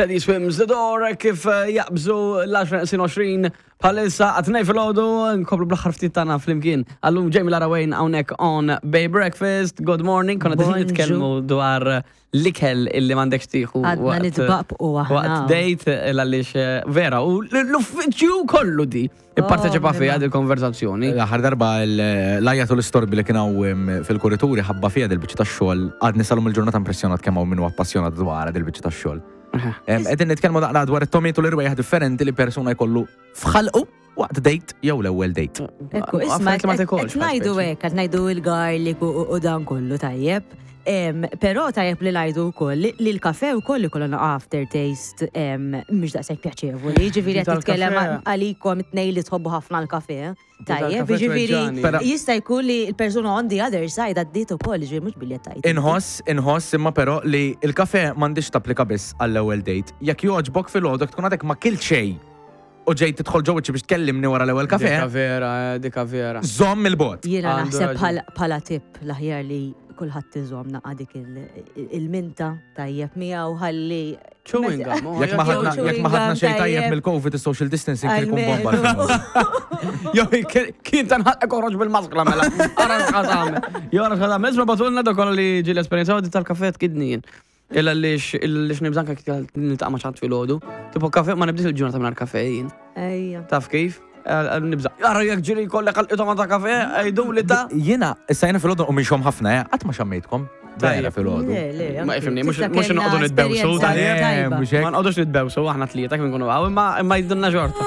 Teddy Swims The Door kif eh, jaqbżu l-10 bħalissa għatnej fil-ħodu nkomplu bl-aħħar ftit tagħna flimkien. Għallum Jamie Lara Wayne hawnhekk on Bay Breakfast. Good morning. Konna qegħdin Bonġu. nitkellmu dwar l-ikel illi m'għandekx tieħu. Għadna waqt- nitbaqbqu aħna. Waqt date għaliex eh, vera u l-uffiċċju kollu di ipparteċipa Oh, fiha imma. dil-konverzazzjoni. L-aħħar darba l-ajja u l-istorbi li kien hawn fil-kurituri ħabba fiha dil-biċċa tax-xogħol għadni salum il-ġurnata impressjonat kemm hawn min huwa appassjonat dwar dil-biċċa tax-xogħol. Qegħdin nitkellmu naqra dwar it-tomiet u l-irwejjaħ differenti li persuna jkollu f'ħalqu waqt date jew l-ewwel date. Ekku, isma, Affarijiet li ma tikolx, qed ngħidu speċi. hekk, qed ngħidu il-garlic u u dan kollu tajjeb. Però tajjeb li ngħidu wkoll li li l-kafe wkoll ikollu naqa' aftertaste mhux daqshekk pjaċevoli. Jiġifieri qed Tal-kafe. titkellem għalikom it-tnejn li tħobbu ħafna l-kafe. Tajjeb, Tal-kafe jiġifieri tweġġani. Però- jista' jkun li l-persuna on the other side għaddiet ukoll, jiġifieri mhux billi qed tgħid. Inħoss, inħoss imma però li il-kafe m'għandix tapplika biss għall-ewwel date. Jekk jogħġbok filgħodu tkun għadek ma kilt xejn u ġejt tidħol ġo wiċċi biex tkellimni wara l-ewwel kafe, Dika vera, eh, dika vera. żomm il-bot. Jiena Għandu naħseb raġun. bħala tip l-aħjar li kulħadd iżomm naqa' dik il-minta tajjeb miegħu ħalli Chewing gum. oh, Jekk ma Jew ħadna jekk ma ħadna xejn tajjeb tajjeb. mill-COVID is-social distancing kien ikun bomba. Almenu. Jo, kien tanħalqek oħroġ bil-maskla mela. Ara x'ħad tagħmel. Jo, ara x'ħad tagħmel. Isma' batulna dak kollha li ġieli esperjenzaw di tal-kafe tkidni jien. Illa lix lix nibżanka kif niltaqa' ma' xi ħadd filgħodu. Tipo kafe ma nibdiex il-ġurnata mingħajr kafe jien. Ejja. Taf kif? Nibża. Ara jekk ġieli jkollek għal ta' kafe, għidu li ta' Jiena, issa jiena filgħodu u minxom ħafna, eh, qatt ma xammejtkom. Vera Tajjeb. filgħodu. Le, le, Ma anki. ifhimni, mhux- Tista' mhux kellna noqogħdu nitbewsu, esperjenza tajjeb. tajba. Mhux hekk. Ma nqogħdux nitbewsu aħna tlieta kif nkunu hawn, imma imma jidunna xorta.